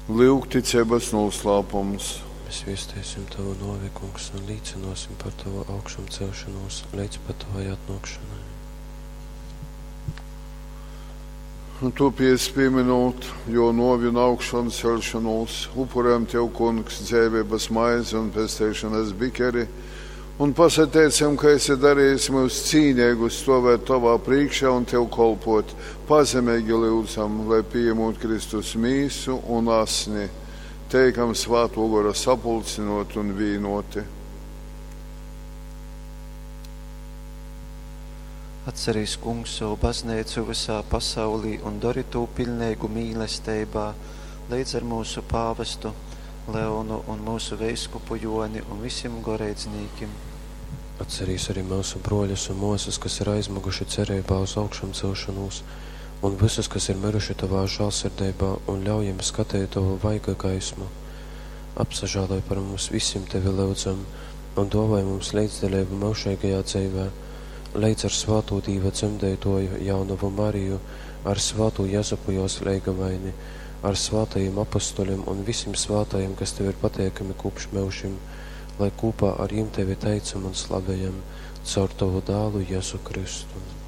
Lyugticeibas nūslāpums. Mēs viesteisim Tavu nōvi, Kungs, un līcynōsim par Tavu augšamceļšonūs leidz pat Tavai atnōkšonai. Un tu, pīminūt jō nōvi un augšanceļšonūs, upurējam Tev, Kungs, dzeiveibas maizi un pesteišonas bikeri, un pasateicam, ka esi darījis myus cīneigus stovēt Tovā prīškā un Tev kolpot. Pazemeigi lyudzam, lai pījemūt Kristus mīsu un asni, teikam Svātō Gora sapulcinoti un vīnoti. Atcerīs, Kungs, savu bazneicu vysā pasaulī un dori tū piļneigu mīlesteibā, leidz ar myusu pāvestu Leonu un myusu veiskupu Jōni un visim goreidznīkim. Atcerīs arī myusu brōļus un mōsas, kas ir aizmyguši cereibā uz augšamcelšonūs, un vysus, kas ir myruši Tovā žālsirdeibā, un ļauj jim skateit Tovu vaiga gaismu. Apsažāloj par mums visim, Tevi lyudzam, un dōvoj mums leidzdaleibu myužeigajā dzeivē, leidz ar svātū Dīva dzemdeitōju jaunovu Mariju, ar svātū Jezupu jōs leigavaini, ar svātajim apostoļim un visim svātajim, kas Tev ir pateikami kopš myužim, lai kopā ar jim Tevi teicam un slavējam, caur Tovu dālu Jezu Kristu.